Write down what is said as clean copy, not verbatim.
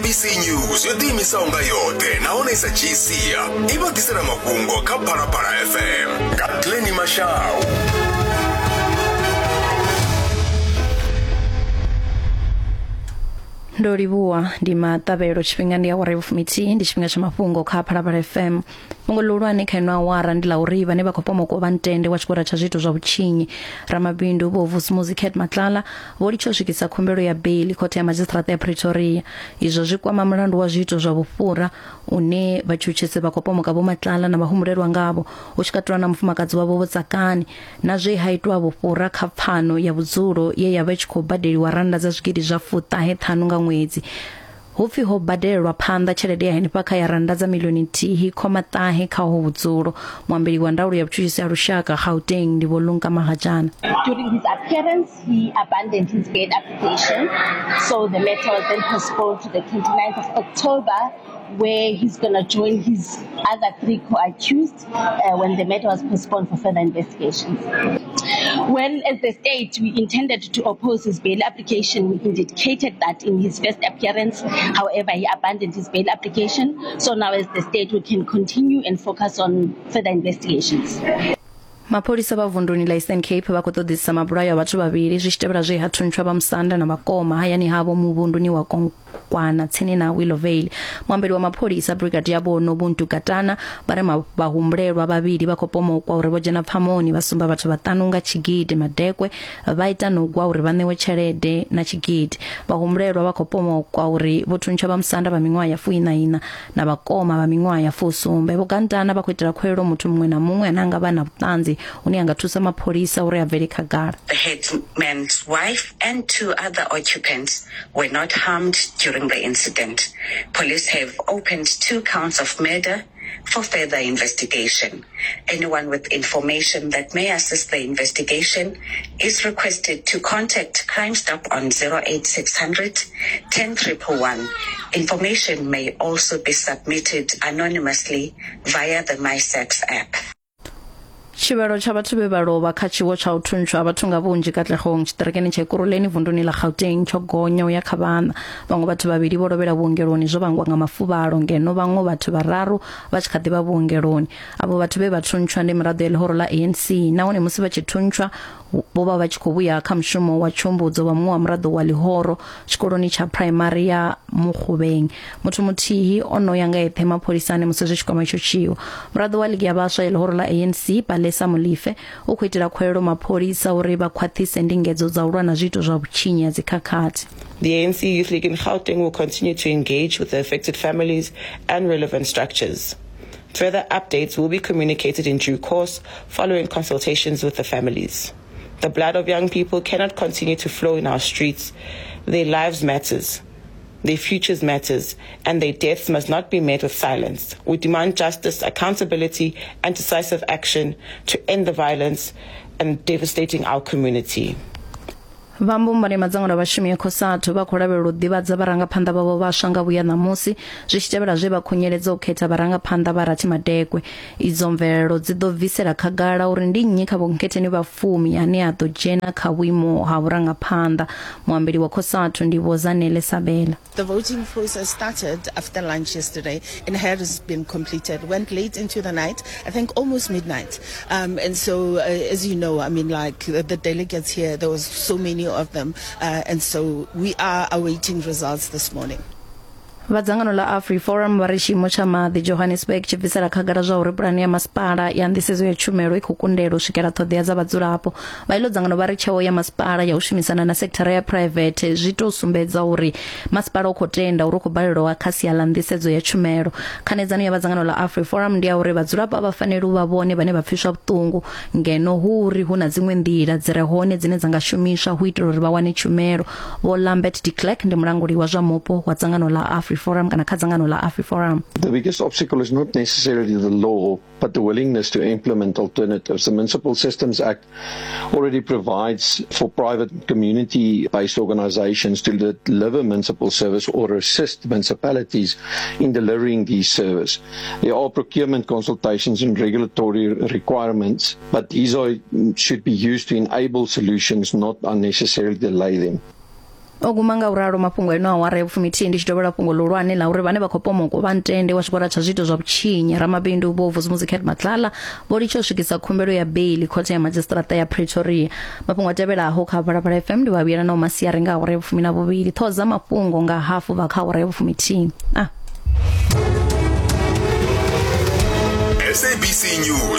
SABC News yo ḓiimisaho nga yoṱhe nahone i sa dzhii sia i vha ḓisela mafhungo kha Phalaphala FM nga Glenny Mashau. Ndo livhuwa ndi maṱavhelo tshifhinga ndi awara ya vhufumithihi ndi tshifhinga tsha mafhungo kha Phalaphala FM. Fhungo ḽihulwane kha ino awara ndi ḽa uri vhane vha khou pomokwa vha ntende wa tshigwada tsha zwiito zwa vhutshinyi ramabindu Vho Vusimuzi Cat Matlala vho litsha u swikisa khumbelo ya beiḽi khothe ya madzhisiṱiraṱa ya Pretoria. Izwo zwi kwama mulandu wa zwiito zwa vhufhura une vhatshutshisi vha khou pomoka Vho Matlala na vhahumbulelwa ngavho hu tshi katelwa na mufumakadzi wavho Vho Tsakani na zwe ha itwa vhufhura kha pfano ya vhudzulo ye ya vha i tshi khou badeliwa rannda dza zwigidi zwa fuṱahe ṱhanu nga ṅwedzi. Hu pfi ho badelelwa phanḓa tshelede ya henefha kha ya rannda dza milioni nthihi khoma ṱahe kha uho vhudzulo. Muambeli wa ndaulo ya vhutshutshisi ha lushaka Gauteng ndi Vho Lumka Magatshana. During his appearance, he abandoned his bail application, so the matter was then postponed to the 29th of October, where he's going to join his other three co-accused when the matter was postponed for further investigations. Well, as the state, we intended to oppose his bail application. We indicated that in his first appearance. However, he abandoned his bail application. So now as the state, we can continue and focus on further investigations. Mapholisa vha vunduni ḽa Eastern Cape vha khou ṱoḓisisa mabulayo a vhathu vhavhili zwi tshi tevhela zwe ha thuntshwa vha musanda na vhakoma hayani havho muvhunduni wa Kwana tsini na Willowvale. Muambeli wa mapholisa Brigadier Vho Nobuntu Katana vha ri vhahumbulelwa vhavhili vha khou pomokwa uri vho dzhena pfamoni vha sumba vhathu vhaṱanu nga tshigidi madekwe vha ita na u gwa uri vha ṋewe tshelede na tshigidi. Vhahumbulelwa vha khou pomokwa uri vho thuntsha vhamusanda vha miṅwaha ya fuiṋa iṋa na vhakoma vha miṅwaha ya fusumbe. Vho Gantana vha khou itela khuwelelo muthu muṅwe na muṅwe ane a nga vha na vhuṱanzi hune a nga thusa mapholisa uri a bvele khagala. The headman's wife and two other occupants were not harmed during the incident. Police have opened two counts of murder for further investigation. Anyone with information that may assist the investigation is requested to contact Crime Stop on 08600 10111. Information may also be submitted anonymously via the MySAPS app. Tshivhalo tsha vhathu vhe vha lovha kha tshiwo tsha u thuntshwa ha vhathu nga vhunzhi Katlehong tshiṱirikini tsha Ekurhuleni vunduni ḽa Gauteng tsho gonya u ya kha vhaṋa. Vhaṅwe vhathu vhavhili vho lovhela vhuongeloni zwo vhangwa nga mafuvhalo ngeno vhaṅwe vhathu vhararu vha tshi kha ḓi vha vhuongeloni. Avho vhathu vhe vha thuntshwa ndi miraḓo ya ḽihoro ḽa ANC nahone musi vha tshi thuntshwa vho vha vha tshi khou vhuya kha mushumo wa tshiumbudzo wa muṅwe wa muraḓo wa ḽihoro tshikoloni tsha phuraimari ya Mukgubeng. Muthu muthihi o no ya nga eṱhe mapholisani musi zwi tshi kwama itsho tshiwo. Muraḓo wa ligi ya vhaswa ya ḽihoro ḽa ANC Palesa Molefe u khou itela khuwelelo mapholisa uri vha khwaṱhise ndingedzo dza u lwa na zwiito zwa vhutshinyi ha dzikhakhathi. The ANC Youth League in Gauteng will continue to engage with the affected families and relevant structures. Further updates will be communicated in due course following consultations with the families. The blood of young people cannot continue to flow in our streets. Their lives matters. Their futures matters, and their deaths must not be met with silence. We demand justice, accountability, and decisive action to end the violence and devastating our community. Vha mbumbano ya madzangano a vhashumi ya Cosatu vha khou lavhelelwa u ḓivhadza vharangaphanḓa vhavho vhaswa nga vhuya ṋamusi zwi tshi tevhela zwe vha khunyeledza u khetha vharangaphanḓa vha rathi madekwe. Idzo mvelelo dzi ḓo bvisela khagala uri ndi nnyi kha vhonkhetheni vha fumi ane a ḓo dzhena kha vhuimo ha vhurangaphanḓa. Muambeli wa Cosatu ndi Vho Zanele Sabela. The voting process started after lunch yesterday and has been completed. Went late into the night, I think almost midnight. Um, and so, uh, as you know, I mean, like the, the delegates here, there was so many of them. Uh, and so we are awaiting results this morning. Vha dzangano ḽa AfriForum vha ri tshiimo tsha maḓi Johannesburg tshi bvisela khagala zwa uri pulane ya masipala ya nḓisedzo ya tshumelo i khou kundelwa u swikela ṱhoḓea dza vhadzulapo. Vha iḽo dzangano vha ri tsheo ya masipala ya u shumisana na sekithara ya phuraivethe zwi tou sumbedza uri masipala u khou tenda uri u khou balelwa kha sia ḽa nḓisedzo ya tshumelo. Khanedzano ya vha dzangano ḽa AfriForum ndi ya uri vhadzulapo a vha faneli u vha vhone vhane vha pfiswa vhuṱungu ngeno hu uri hu na dziṅwe nḓila dzi re hone dzine dza nga shumiswa hu itela uri vha wane tshumelo. Vho Lambert de Klerk ndi mulanguli wa zwa mupo wa dzangano ḽa AfriForum kana kha dzangano ḽa AfriForum. The biggest obstacle is not necessarily the law, but the willingness to implement alternatives. The Municipal Systems Act already provides for private community-based organizations to deliver municipal service or assist municipalities in delivering these services. There are procurement consultations and regulatory requirements, but these are, should be used to enable solutions, not unnecessarily delay them. O guma nga u ralo mafhungo eno awara ya vhufumithihi ndi tshi dovhela fhungo ḽihulwane ḽa uri vhane vha khou pomokwa vha ntende wa tshigwada tsha zwiito zwa vhutshinyi ramabindu Vho Vusumuzi Cat Matlala vho litsha u swikisa khumbelo ya beili khothe ya madzhisiṱiraṱa ya Pretoria. Mafhungo a tevhelaho kha Phalaphala FM ndi vha vhuyela nao masiari nga awara ya vhufumi na vhuvhili ṱhoho dza mafhungo nga hafu vha kha awara ya vhufumithihi. Ah. SABC News.